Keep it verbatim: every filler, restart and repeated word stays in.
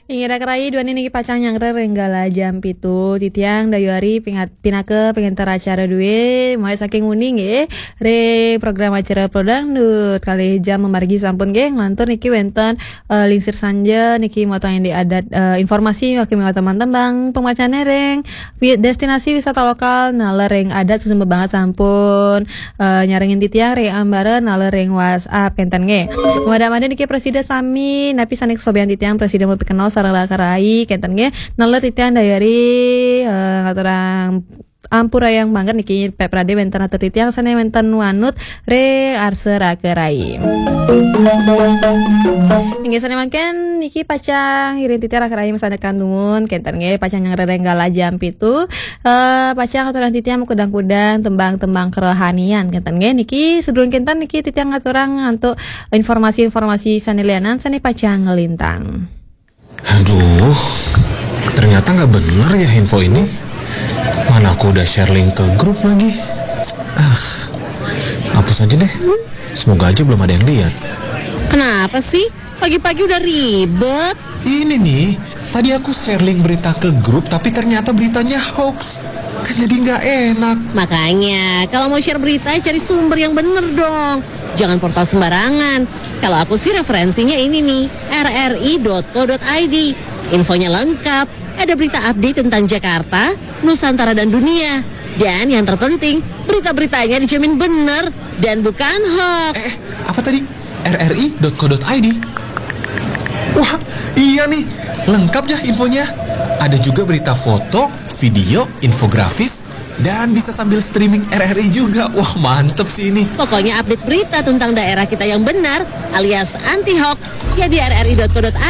Inggih rakerai, duaning niki pacang nyanggra ring galah jam pitu. Titiang Dayu Ari pingat-, pinaka pangenter acara duwé, mawit saking uning nggih, ring program acara Pro Dangdut. Kalih jam mamargi sampun nggih, nglantur niki wénten, eh, Lingsir Sanja niki mawatang indik adat, eh, informasi niki mawatang tembang pamacané ring wi-, destinasi wisata lokal, naler ring adat susumber banget sampun, eh, nyarengin titiang ring ambara naler ring WhatsApp kénten nggih. Mada-mada niki prasida sami napi sané kasobian titiang prasida mapikenal sareng rakerai kénten nggih. Naler titiang Dayu Ari, eh, ngaturang ampurayang banget niki Pak Prade wénten atur titiang sané wénten wanut ring arsa rakerai. Inggih sané mangkin niki pacang ngiring titiang rakerai masandekan dumun kénten nggih pacang nyanggra ring galah jam pitu. Eh, pacang aturang titiang makudang-kudang tembang-tembang kerohanian kénten nggih. Niki sadurung kénten niki titiang ngaturang antuk informasi-informasi sané lianan sané pacang nglintang. Aduh, ternyata nggak bener ya info ini. Mana aku udah share link ke grup lagi. Ah, hapus aja deh. Semoga aja belum ada yang lihat. Kenapa sih? Pagi-pagi udah ribet. Ini nih, tadi aku share link berita ke grup, tapi ternyata beritanya hoax. Kan jadi nggak enak. Makanya, kalau mau share berita, cari sumber yang bener dong. Jangan portal sembarangan. Kalau aku sih referensinya ini nih, R R I dot co dot I D. Infonya lengkap, ada berita update tentang Jakarta, Nusantara dan dunia. Dan yang terpenting, berita-beritanya dijamin bener dan bukan hoax. Eh, eh, apa tadi? R R I dot co dot I D. Wah, iya nih, lengkap ya infonya. Ada juga berita foto, video, infografis, dan bisa sambil streaming R R I juga. Wah, mantep sih ini. Pokoknya update berita tentang daerah kita yang benar alias anti hoax ya di R R I dot co dot I D.